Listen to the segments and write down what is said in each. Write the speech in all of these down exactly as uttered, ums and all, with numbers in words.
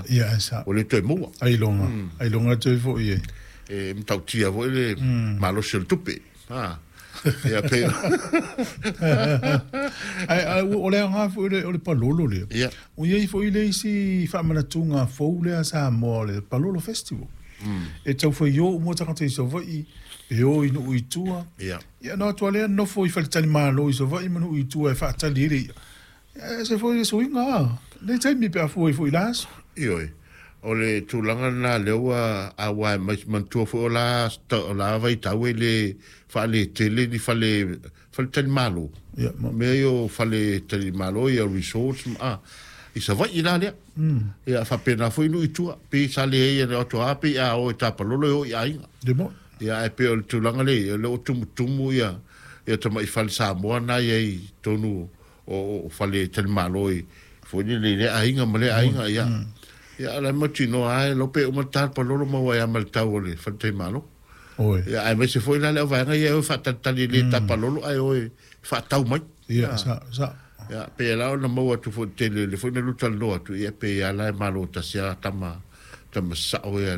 Ia e sa. Ua le toe maua. Ailoga, ailoga toe foi e. E matautia foi le malosi o le tupe. A. Ia pe. Ai ai o le aoga foi o le palolo lea. Ia. Ua i ai foi le isi faamanatuga fou lea Samoa o le Palolo Festival. E tau fai o uma tagata i Savaii, e o i nuu i tua. Ia. Ia na atu lea nofo i faletalimalo i Savaii ma nuu i tua e faatali ai le i'a. Ia e se foi le suiga a. Nei taimi pe a fua ai foi i la aso. Ioe. O le tulaga lena lea ua auai mai manatua foi o la o la vaitau e le faaletele ni fale faletalimalo. Ia ma Mea ia o faletalimalo ia resorts ma i Savaii la lea. Ia faapena foi nuu i tua pe sa leai e atu a pe a o e tapalolo e o i aiga. Le mo. Ia ae pei o le tulaga lea o lea ua tumutumu ia ia tamai fale Samoa na i ai i totonu o o faletalimalo i foi lele i lea aiga ma lea aiga ia. Ia o la e mautinoa lava e iloa pe uma le tapalolo maua ai lava ma le tau o le faletalimalo. Oi. Ia aemaise foi la le auvaega ia e o e faatalitali e le tapalolo ae o e faatau mai. Ia sa sa. Ia pei la ona maua atu foi i le tele o lea foi na lua talanoa atu ia pei lava la e malo tasi lava tama tama sasao ia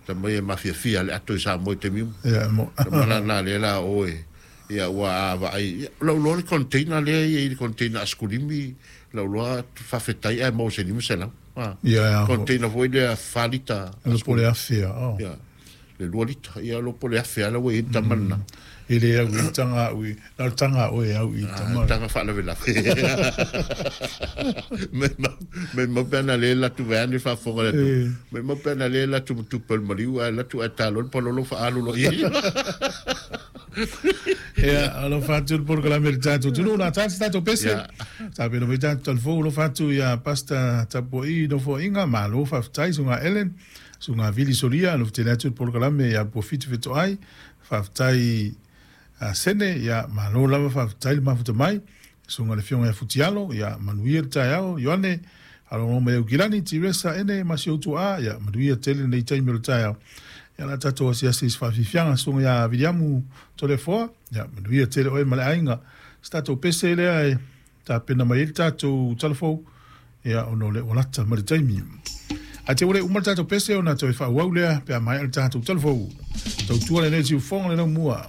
tama ia e mafiafia le ato i Samoa i taimi uma. Ia mo. Tama la lena lea la o e ia ua a vaai ia lau iloa le container lea e i ai le container asikulimi lau iloa faafetai ae maua se lima selau. A. Ia Container foi lea fa lita. Le po le afe oh. Ia le lua lita ia lo po le afe ala ua i ai le tama lena. E le au i tanga au i na le tanga o e au i tama. Tanga faalavelave. Me mau me mau pe ana le latu vaeane le faafofoga le atunuu. Me mau pe ana le latu ma tupe o le maliu ae latu ae talo le palolo faaalu loa i ai. Ia, alofa atu le polokalame i le tatou atunuu, na tasi tatou pese. Ia. Tapena mai tatou talafou, alofa atu ia Pastor Tapuai Nofoaiga, malo faafetai, susuga Ellen, susuga Vili Solia, alofa tele atu le polokalame ia Puafitu Fetoai, faafetai a Sene, ia malo lava faafetai le mafuta mai, susuga le afioga ia Futialo, ia manuia le taeao, Ioane, faalogologo mai Aukilani, Tiresa, Ene, ma si ou tuaa, ia manuia tele lenei taimi o le taeao. Ia la tatou asiasi i se faafiafiaga, susuga ia Viliamu Toleafoa, ia manuia tele oe ma le aiga. Se tatou pese lea e tapena mai ai le tatou talafou, ia ona o le ua lata ma le taimi. Ae te ua le uma le tatou pese ona toe faaauau lea pe a maea le tatou talafou. Tautua lenei siufofoga le laumua.